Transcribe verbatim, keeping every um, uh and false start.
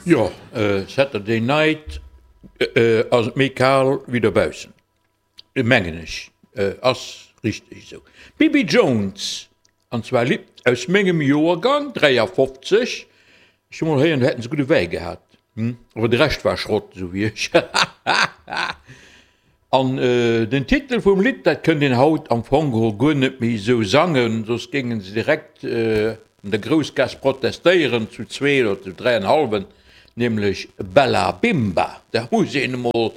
Jo, Saturday Night ass et méi kal wéi dobaussen, mengen ech. Ass richteg esou. D'Bibi Jones, an zwar Lidd aus mengem Joergang, dräiafofzeg. Ech hu mol héieren, do hätten se gudde Wäi gehat, awer de Rescht war Schrott, esou wéi ech. An den Titel vum Lidd, dat kënnt een haut am Fong geholl guer net méi esou sangen, soss géinge se direkt an der Groussgaass protestéieren, zu zwee oder zu dräienhallwen, nämlech Bella Bimba. Dat muss een emol